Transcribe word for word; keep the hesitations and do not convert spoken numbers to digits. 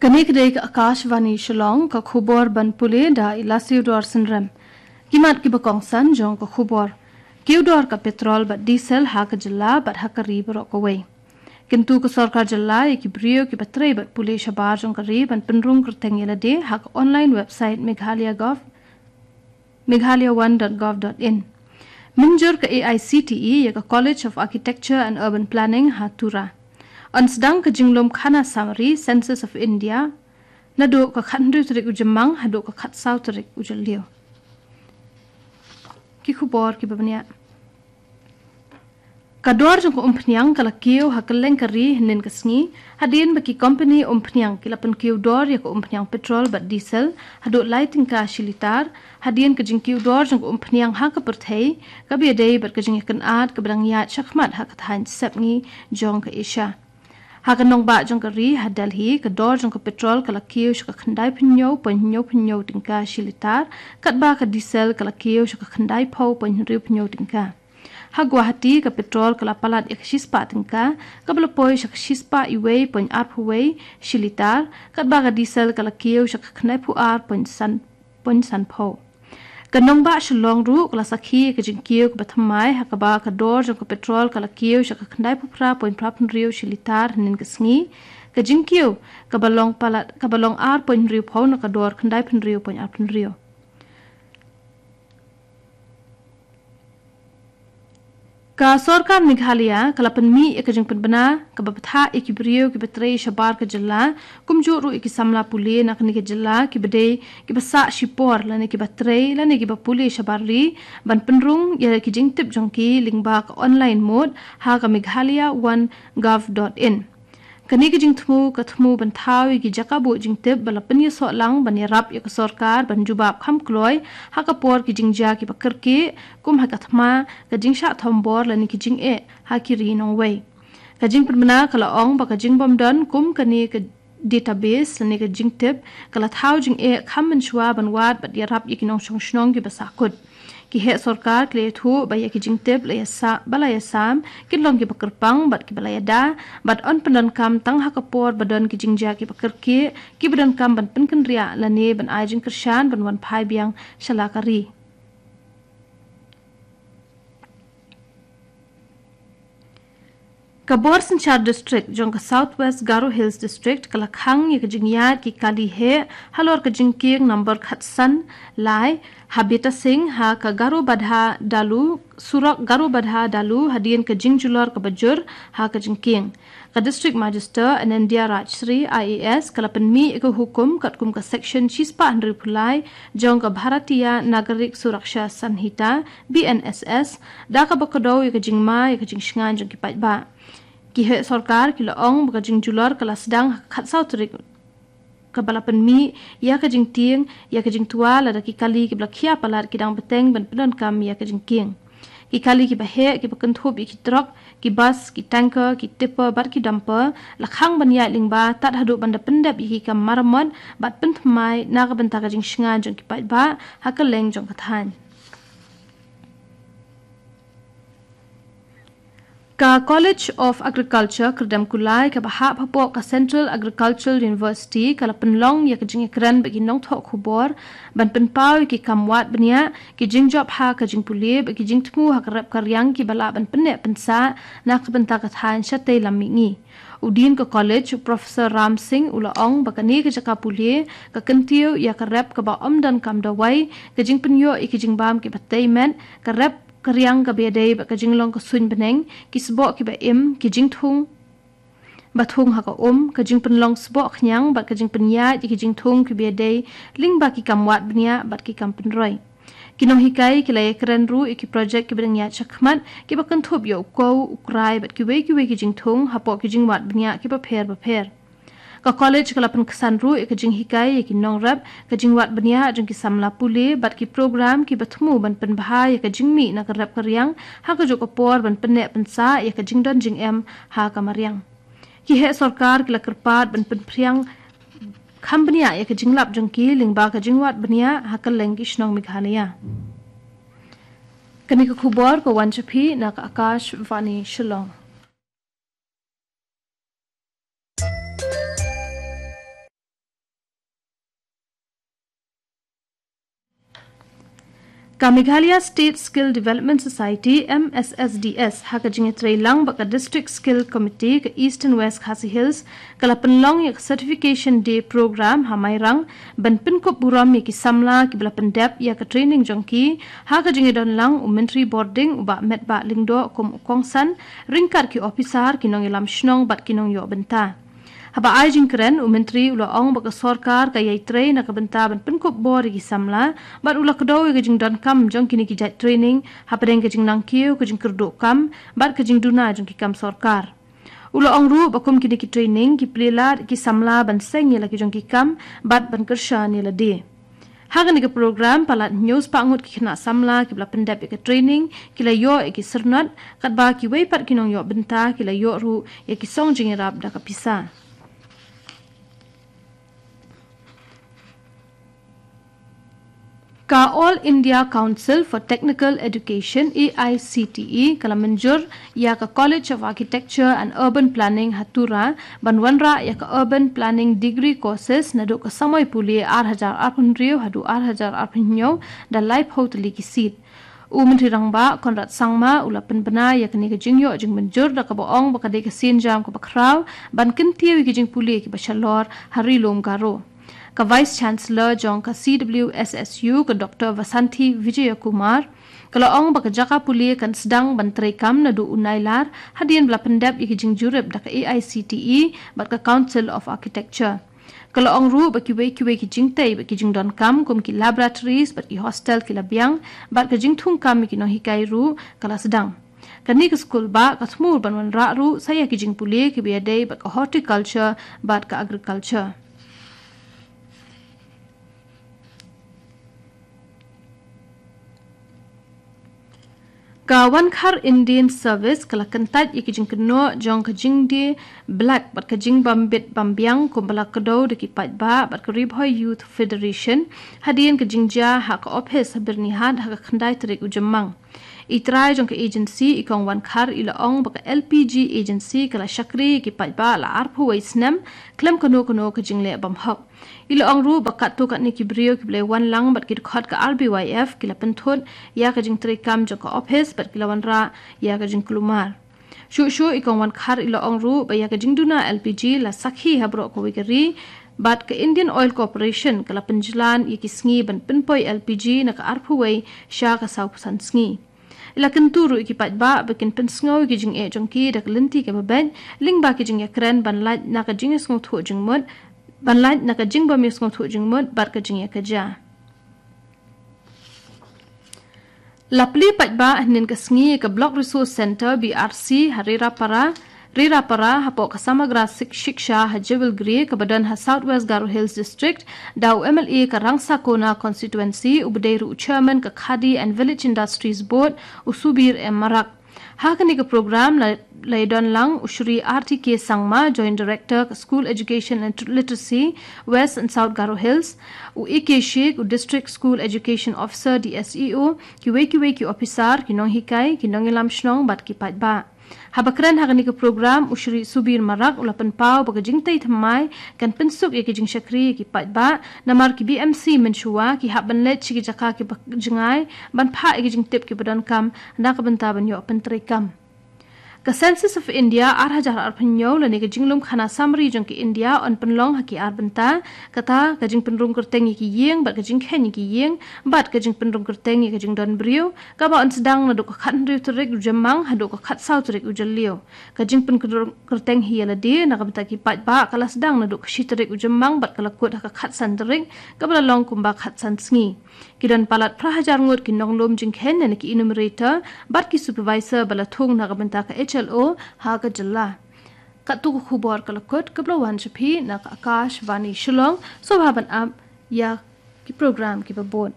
Kane ka dei ka Akashvani Shillong, ka khubor ban pule da i Lasiu Dor Synrem. Ki mat kiba kongsan jong ka khubor. Kiew dor ka petrol bad diesel ha ka jylla bad ha ka ri baroh kawei. Kyntu ka sorkar jylla ïa ki briew kiba trei bad pule shabar jong ka ri ban pynrung kyrteng ïa lade ha ka online website Meghalaya Gov, meghalaya one dot gov dot in. Mynjur ka A I C T E ïa ka College of Architecture and Urban Planning ha Tura. Yn sdang ka jinglum khana summary Census of India naduh ka khathynriew tarik u Jymmang haduh ka khatsaw tarik u Jylliew. Ki khubor kiba bniah. Ka dor jong ka umphniang ka la kiew ha kylleng ka ri hynnin ka sngi, hadien ba ki kompani umphniang ki la pynkiew dor ïa ka umphniang petrol bad diesel haduh lai tyngka shi litar, hadien ka jingkiew dor jong ka umphniang ha ka pyrthei kaba ïadei bad ka jingïakynad kaba dang ïaid shakhmat ha ka thaiñ sepngi jong ka Asia. Ha ka nongbah jong ka ri ha Delhi, ka dor jong ka petrol ka la kiew sha ka khyndai phew hynñiew point hynñiew phew hynñiew tyngka shi litar, katba ka diesel ka la kiew sha ka khyndai phew point hynriew phew hynñiew tyngka. Ha Guwahati, ka petrol ka la palat ïa ka shispah tyngka, kaba la poi sha ka shispah iwei point arphew wei shi litar, katba ka diesel ka la kiew sha ka khyndai phew ar point san point san phew. Ka nongbah Shillong ruh ka la sakhi ïa ka jingkiew kaba thymmai ha kaba ka dor jong ka petrol ka la kiew sha ka khyndai phew phra point phra phew hynriew shi litar hynnin ka sngi. Ka jingkiew kaba long palat kaba long ar point hynriew phew na ka dor khyndai phew hynriew point ar phew hynriew. Ka sorkar Meghalaya ka la pynmih ïa ka jingpynbna kaba bthah ïa ki briew kiba trei shabar ka jylla, kumjuh ruh ïa ki samla pule na kane ka jylla kiba dei kiba sah shipor lane kiba trei lane kiba pule shabar ri ban pynrung ïa ki jingtip jong ki lyngba ka online mode ha ka meghalaya one gov dot in. Kane ka jingthmu ka thmu ban thaw ïa ki jaka buh jingtip ba la pynïasoh lang ban ïarap ïa ka sorkar ban jubab kham kloi ha ka por ki jingjia kiba kyrkieh, kum ha ka thma, ka jingshah thombor lane ki jingeh ha ki ri nongwei. Ka jingpynbna ka la ong ba ka jingbym don kum kane ka database lane ka jingtip ka la thaw jingeh kham mynshuwa ban wad bad ïarap ïa ki nongshong shnong kiba sahkut. Ki heh sorkar ki la ïathuh ba ïa ki jingtip la ïa sa ba la ïa sam kin long kiba kyrpang bad kiba la ïada, bad yn pyndonkam tang ha ka por ba don ki jingjia kiba kyrkieh kiba donkam ban pynkynriah lane ban ai jingkyrshan ban wan phai biang sha la ka ri. Ka bor synshar district jong ka South West Garo Hills District ka la khang ïa ka jingïaid ki kali heh halor ka jingkieng number khatsan lai ha Betasing ha ka Garo Badha Dalu, surok Garo Badha Dalu, hadien ka jingjulor kaba jur ha ka jingkieng. Ka District Magistrate Anandya Rajshri I A S ka la pynmih ïa ka hukum katkum ka section shispah hynriew phew lai jong ka Bharatiya Nagarik Suraksha Sanhita, B N S S, da kaba kdew ïa ka jingma ïa ka jingshngaiñ jong ki paidbah. Ki heh sorkar ki la ong ba ka jingjulor ka la sdang ha ka khatsaw tarik kaba la pynmih ïa ka jingtieng ïa ka jingtwa lada ki kali kiba la khia palat ki dang bteng ban pyndonkam ïa ka jingkieng. Ki kali kiba heh kiba kynthup ïa ki trok, ki bus, ki tanker, ki tipper bad ki dumper la khang ban ïaid lyngba tad haduh ban da pyndep ïa ki kam maramot bad pynthymmai na ka bynta ka jingshngaiñ jong ki paidbah ha kylleng jong ka thaiñ. Ka College of Agriculture Kyrdemkulai kaba hap hapoh ka Central Agricultural University ka la pynlong ïa ka jingïakren bad ki nongthoh khubor ban pynpaw ïa ki kam wad bniah, ki jingjop ha ka jingpule bad ki jingthmu ha ka rep ka riang kiba lah ban pynneh pynsah na ka bynta ka thaiñ shatei lam mihngi. U Dean ka college, u Professor Ram Singh, u la ong ba kane ka jaka pule ka kyntiew ïa ka rep kaba ym donkam dawai, ka jingpynïoh ïa ki jingbam kiba tei met, ka rep ka riang kaba ïadei bad ka jinglong ka suiñ bneng, ki sboh kiba im, ki jingthung ba thung ha ka um, ka jingpynlong sboh khñiang bad ka jingpynïaid ïa ki jingthung kiba ïadei lyngba ki kam wad bniah bad ki kam pynroi. Ki nonghikai ki la ïakren ruh ïa ki projek kiba dang ïaid shakhmat kiba kynthup ïa u kew, u krai bad kiwei kiwei ki jingthung hapoh ki jingwad bniah kiba pher bapher. Ka college ka la pynksan ruh ïa ka jinghikai ïa ki nongrep, ka jingwad bniah jong ki samla pule bad ki program kiba thmu ban pynbha ïa ka jingmih na ka rep ka riang ha kajuh ka por ban pynneh pynsah ïa ka jingdon jingem ha ka mariang. Ki heh sorkar ki la kyrpad ban pynphriang kham bniah ïa ka jinglap jong ki lyngba ka jingwad bniah ha kylleng ki shnong Meghalaya. Kane ka khubor ka wan sha phi na ka Akashvani Shillong. Ka Meghalaya State Skill Development Society, M S S D S, ha ka jingïatreilang bad ka District Skill Committee ka Eastern West Khasi Hills, ka la pynlong ïa ka Certification Day Program ha Mairang, ban pynkup burom ïa ki samla kiba la pyndep ïa ka training jong ki, ha ka jingïadonlang u Myntri Border u Bah Metbah Lyngdoh kum u kongsan, ryngkat ki ophisar, ki nongïalam shnong bad ki nongïoh bynta. Haba ai jingkren, u Myntri u la ong ba ka sorkar ka ïai trei na ka bynta ban pynkup bor ïa ki samla, bad u la kdew ïa ka jingdonkam jong kine ki jait training, hapdeng ka jingnangkiew, ka jingkyrduh kam, bad ka jingduna jong ki kam sorkar. U la ong ruh ba kum kine ki training, ki plie lad ïa ki samla ban seng ïa la ki jong ki kam, bad ban kyrshan ïa lade. Ha kane ka program, palat hynñiew spah ngut ki khynnah samla kiba la pyndep ïa ka training, ki la ïoh ïa ki syrnot, katba kiwei pat ki nongïoh bynta, ki la ïoh ruh ïa ki song jingïarap da ka pisa. Ka All India Council for Technical Education, A I C T E, ka la mynjur ïa ka College of Architecture and Urban Planning ha Tura, ban wanrah ïa ka Urban Planning Degree Courses naduh ka samoi pule ar hajar arphew hynriew haduh ar hajar arphew hynñiew da laiphew tylli ki seat. U Myntri Rangbah Conrad Sangma u la pynbna ïa kane ka jingïoh jingmynjur da kaba ong ba ka dei ka sienjam kaba khraw ban kyntiew ïa ki jingpule kiba shalor ha Ri Lum Garo. Ka Vice Chancellor jong ka C W S S U, ka Doctor Vasanthi Vijayakumar, ka la ong ba ka jaka pule kan sdang ban treikam naduh u Nailar, hadien ba la pyndep ïa ki jingjurip da ka A I C T E bad ka Council of Architecture. Ka la ong ruh ba kiwei kiwei ki jingtei bad ki jingdonkam kum ki laboratories bad ki hostel ki la biang, bad ka jingthungkam ïa ki nonghikai ruh ka la sdang. Kane ka skul bah ka thmu ban wanrah ruh sa ïa ki jingpule kiba ïadei bad ka horticulture bad ka agriculture. Ka Wankhar Indian Service ka la kyntait ïa ki jingkynnoh jong ka jingdie black bad ka jingbym bit bym biang kumba la kdew da ki paidbah bad ka Ri Bhoi Youth Federation, hadien ka jingjia ha ka ophis ha Byrnihat ha ka khyndai tarik u Jymmang. I trai jong ka agency, i Kong Wankhar, i la ong ba ka L P G agency ka la shakri ïa ki paidbah la arphew wei snem khlem kano kano ka jingleh bymhok. I la ong ruh ba katto katne ki briew kiba la wan lang bad ki dkhot ka R B Y F ki la pynthut ïa ka jingtreikam jong ka ophis bad ki la wanrah ïa ka jingkulmar. Shuh shuh, i Kong Wankhar i la ong ruh ba ïa ka jingduna L P G la sakhi ha baroh kawei ka ri, bad ka Indian Oil Corporation ka la pynjlan ïa ki sngi ban pynpoi L P G na ka arphew wei sha ka sawphew san sngi. I la kyntu ruh ïa ki paidbah ba kin pynsngew ïa ki jingeh jong ki da ka lynti kaba beit, lyngba ki jingïakren ban lait na ka jingïasngewthuh jingmut, ban lait na ka jingbym ïasngewthuh jingmut bad ka jingïakajia. La plie paidbah hynnin ka sngi ïa ka Block Resource Centre, B R C, ha Rerapara, Rerapara, hapoh ka Samagra Sik-, Shiksha ha Jewelgre, kaba don ha South West Garo Hills District, da u M L A ka Rangsakona Constituency, uba dei ruh u Chairman ka Khadi and Village Industries Board, u Subir M Marak. Ha kane ka program la, la ïadon lang u Shri R T K Sangma, Joint Director ka School Education and Literacy, West and South Garo Hills, u A K Sheikh, u District School Education Officer, D S E O, kiwei kiwei ki ophisar, ki nonghikai, ki nongïalam shnong bad ki paidbah. Haba kren ha kane ka program, u Shri Subir Marak u la pynpaw ba ka jingtei thymmai kan pynsuk ïa ki jingshakri ïa ki paidbah, namar ki B M C mynshuwa ki hap ban leit sha ki jaka kiba jngai ban phah ïa ki jingtip kiba donkam na ka bynta ban ïoh pyntreikam. Ka Census of India ar hajar arphew hynñiew lane ka jinglum khana samari jong ka India yn pynlong ha ki ar bynta, kata ka jingpynrung kyrteng ïa ki ïing bad ka jingkheiñ ïa ki ïing, bad ka jingpynrung kyrteng ïa ka jingdon briew, kaba yn sdang naduh ka khathynriew tarik u Jymmang haduh ka khatsaw tarik u Jylliew. Ka jingpynrung kyrteng hi ïa lade na ka bynta ki paidbah ka la sdang naduh ka shi tarik u Jymmang bad ka la kut ha ka khatsan tarik, kaba la long kumba khatsan sngi. Ki don palat phra hajar ngut ki nonglum jingkheiñ lane ki enumerator bad ki supervisor ba la thung na ka bynta ka H L O ha ka jylla. Katto ka khubor ka la kut, kaba la wan sha phi na ka Akashvani Shillong. Sngewbha ban ap ïa ki program kiba bud.